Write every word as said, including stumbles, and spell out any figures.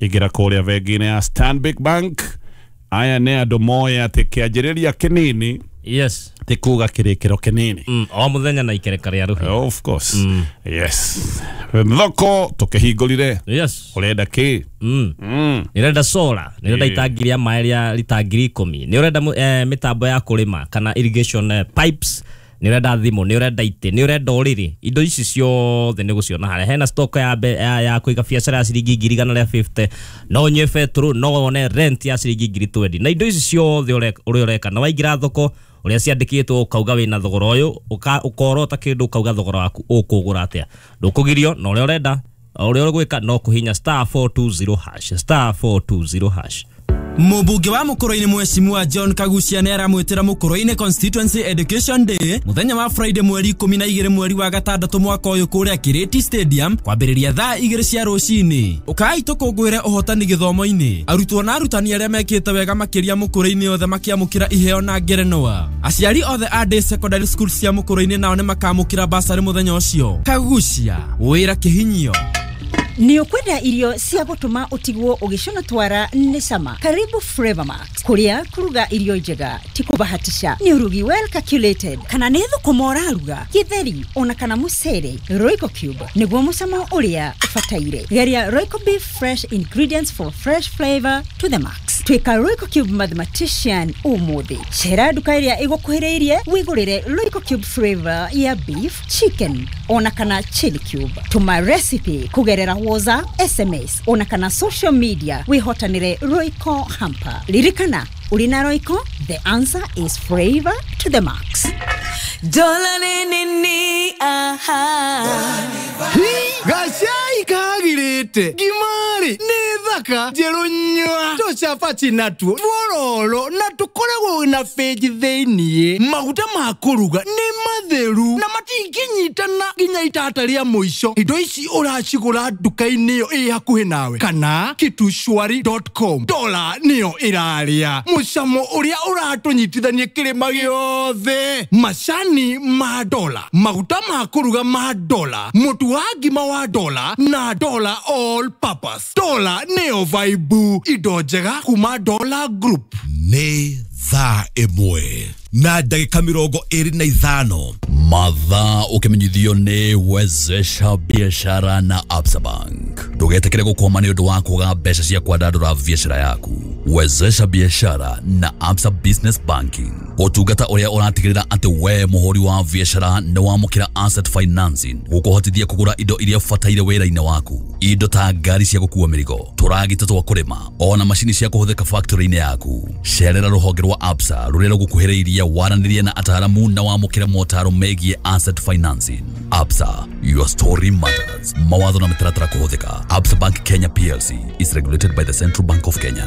Ingĩra kũrĩa bengi-inĩ ya Stanbic Bank. Aya nĩ andũ moĩ atĩ kĩanjĩrĩria kĩnini yes ti kuga kĩrĩkĩro kĩnini. Mm, o mũthenya na ikereka rĩa rũhĩa. Of course. Mm. Yes. Thoko tũkĩhingũrire. Yes. Ũrenda kĩ? Mm. Mm. Nĩ ũrenda solar, nĩ ũrenda itangi rĩa maĩ rĩa lita ngiri ikũmi, nĩ ũrenda eh, mĩtambo ya kũrĩma kana irrigation eh, pipes, nĩ ũrenda thimũ, nĩ ũrenda itĩ, nĩ ũrenda ũrĩrĩ. Indo ici ciothe nĩ gũciona harĩa. Hena stock ya, be, ya, ya kũiga biacara ya ciringi ngiri igana rĩa fifty, no ũnyue betũrũ, no wone rent ya ciringi ngiri twenty. Na indo ici ciothe ũrĩa ũreka na waingĩra thoko ũrĩa ciandĩkĩtwo ũkauga wĩna thogora ũyũ, ũkorota kĩndũ ũkauga thogora waku ũkũgũra atĩa. Ndũkũgirio na ũrĩa ũrenda, ũrĩa ũgwĩka no kũhinya star four two zero hash, star four two zero hash. Mũmbunge wa Mũkũrũ-inĩ Mheshimiwa John Kagucia nĩ aramwĩtĩra Mũkũrũ-inĩ Constituency Education Day mũthenya wa Friday mweri ikũmi na igĩrĩ mweri wa gatandatũ mwaka ũyũ kũrĩa Kireti Stadium kwambĩrĩria thaa igĩrĩ cia rũcinĩ. Ũkai tũkũngũĩre ũhotani gĩthomo-inĩ. Arutwo na arutani arĩa mekĩte wega makĩria Mũkũrũ-inĩ othe makĩamũkĩra iheo na ngerenwa. Aciari othe a day secondary school cia Mũkũrũ-inĩ nao nĩ makamũkĩra basarĩ mũthenya ũcio. Kagucia, wĩra kĩhinyio. Nĩ ũkwenda irio cia gũtũma ũtigwo ũgĩcũna twara nĩ cama. Karibu Flavor Max, kũrĩa kũruga irio njega ti kũbahatisha, nĩ ũrugi well calculated. Kana nĩ thũkũma ũraruga, gĩtheri ona kana mũcere, Royco Cube nĩguo mũcamo ũrĩa ũbataire. Geria Royco Beef, fresh ingredients for fresh flavor to the max. Twĩka Royco Cube mathematician ũmũthĩ. Cera nduka ĩrĩa ĩgũkuhĩrĩirie wĩgũrĩre Royco Cube flavor ya beef, chicken ona kana chili cube. Tũma recipe kũgerera WhatsApp, S M S ona kana social media wihotanire Royco hamper. Lirikana, urina Royco, the answer is flavor to the max. Dola ni ni aha. Gacai kagirite ngimari nĩ thaka njerũ nyua tũcabaci natuo twororo na tũkoragwo na benji thĩiniĩ. Maguta ma kũruga nĩ matheru na matingĩnyitana nginya itata rĩa mũico. Indo ici ũracigũra nduka-inĩ ĩyo ĩ hakuhĩ nawe kana kitushwari dot com. Dola nĩyo ĩrarĩa mũcamo ũrĩa ũratũnyitithania kĩrĩma gĩothe. Macani ma dola, maguta ma kũruga ma dola, mũtu wa ngima wa dola na dola all purpose. Dola nĩyo vibe, indo njega kuma Dola Group. Nĩ thaa ĩmwe na ndagĩka mĩrongo ĩrĩ na ithano. Mathaa ũkĩmenyithio nĩ Wezesha Biashara na Absa Bank. Ndũgetĩkĩre gũkwama nĩ ũndũ wa kwaga mbeca cia kwandandũra biacara yaku. Wezesha Biashara na Absa Business Banking, ũtungata ũrĩa ũratigĩrĩra atĩ we mũhũri wa biacara nĩ wamũkĩra asset financing gũkũhotithia kũgũra indo iria ũbataire wĩra-inĩ waku, indo ta ngari cia gũkua mĩrigo, tũragita twa kũrĩma, ona macini cia kũhũthĩka factory-inĩ yaku. Cerera rũhonge rwa Absa rũrĩa rũgũkuhĩrĩirie, waranĩrie na ataaramu na wamũkĩre motaro megiĩ asset financing. Absa, your story matters. Mawatho na mĩtaratara kũhũthĩka. Absa Bank Kenya P L C is regulated by the Central Bank of Kenya.